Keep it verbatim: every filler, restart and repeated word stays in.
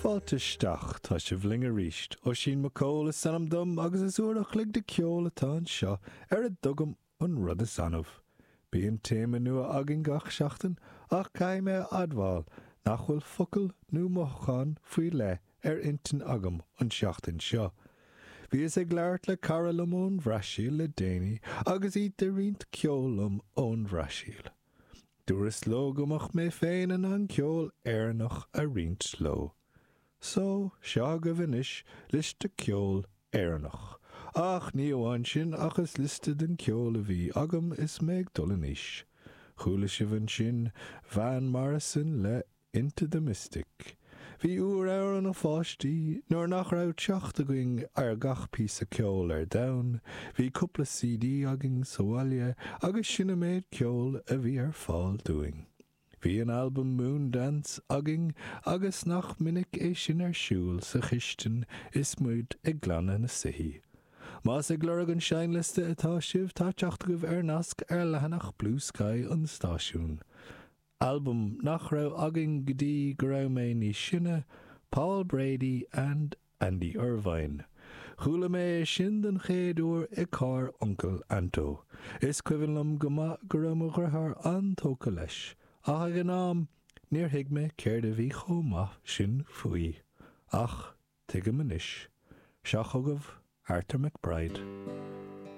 Fáilte isteach, tá sibh linn arís. Oisín Mac Cóil is ainm dom agus is uair a chloig de ceol atá anseo ar a dtugaim an rud is annamh. Bíonn téama nua againn gach seachtain ach caithfidh mé a admháil nach bhfuil focal nó mothúchán faoi leith ar intinn agam an seachtain seo. Bhíos ag labhairt le cara liom ón Bhrasaíl le déanaí agus iad ag roinnt ceol liom ón Bhrasaíl. Dúras leo go mbeadh mé féin in ann ceol Éireannach a roinnt leo. So, seo agaibh anois liosta ceol Éireannach. Ach ní amháin sin ach is liosta den ceol a bhí agam is mé ag dul in aois. Chuala sibh ansin Van Morrison le Into the Mystic. Bhí uair ann inár bpáistí nuair nach raibh teacht againn ar gach píosa ceoil ar domhan, bhí cúpla CD againn sa bhaile agus sin an méid ceoil a bhí ar fáil dúinn. Bhí an albam Moondance againn agus nach minic é sin ar siúl sa chistin is muid ag glanadh na soithí. Más ag lorg an seinnliosta atá sibh tá teacht agaibh ar nasc ar leathanach Bluesky an stáisiúin. Album nach raibh againn go dtí go raibh mé níos sine, Paul Brady and Andy Irvine. Chuala mé é sin den chéad uair i gcarr Uncail Anto. Is cuimhin liom go maith go raibh mo dheartháir an-tógtha leis, ach ag an am níor thuig mé céard a bhí chomh maith sin faoi. Ach tuigim anois. Seo chugaibh Arthur McBride.